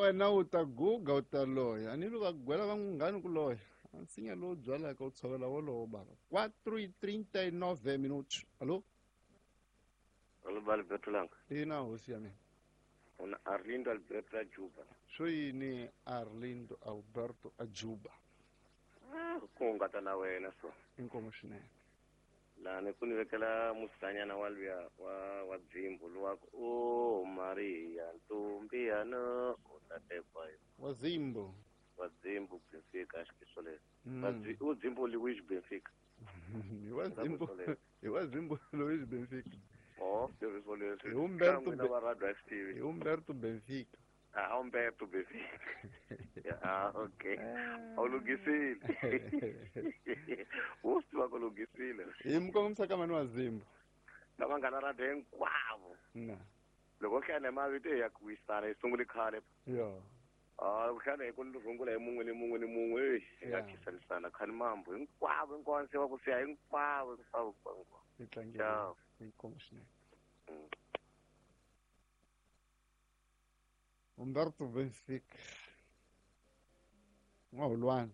Wena u ta guga u ta loya, a ni va gwela va nghani ku loya. A nsinya lowu byalaka u tshovela wolowo bava. 4:39 minutos. Allo? Allo, ba Alberto Langa. Ina hosi ya mina. Una Arlindo Alberto Ajuba. Swo yini Arlindo Alberto Ajuba? Ah, ku hungata na wena so. Inkomu swinene. Lani ku ni vekela musanyana wa luya wa dzimbu luwa ku o Maria ntombi ya no u ta tekwa yo. Wa Zimbo. Wa dzimbu Benfica xikiso leswi. U dzimbu Luis Benfica. Hi wa Zimbo. Hi wa Zimbo Luis Benfica. Oh, leswi leswi. Hi Umberto va Radio TV. Hi Umberto Benfica. Ah, Umberto Benfica. Ah, okay. A wu lunghisile. Wo swi tiva ku lunghisile. Hi mukongomisa ka mani wa Zimbo. Na vanghana radio hinkwavo. Na. Loko hlaya mavito ya ku wisana yi sungule khale. Yo. Ah, loko hlaya hi ku rungula hi mun'we ni mun'we ni mun'we, hi nga khisanisana khani mambo hinkwavo hinkwavo se va ku siya hinkwavo hinkwavo hinkwavo. Hi tlangela. Inkomu swinene. Umberto Benfica. N'wahulwana.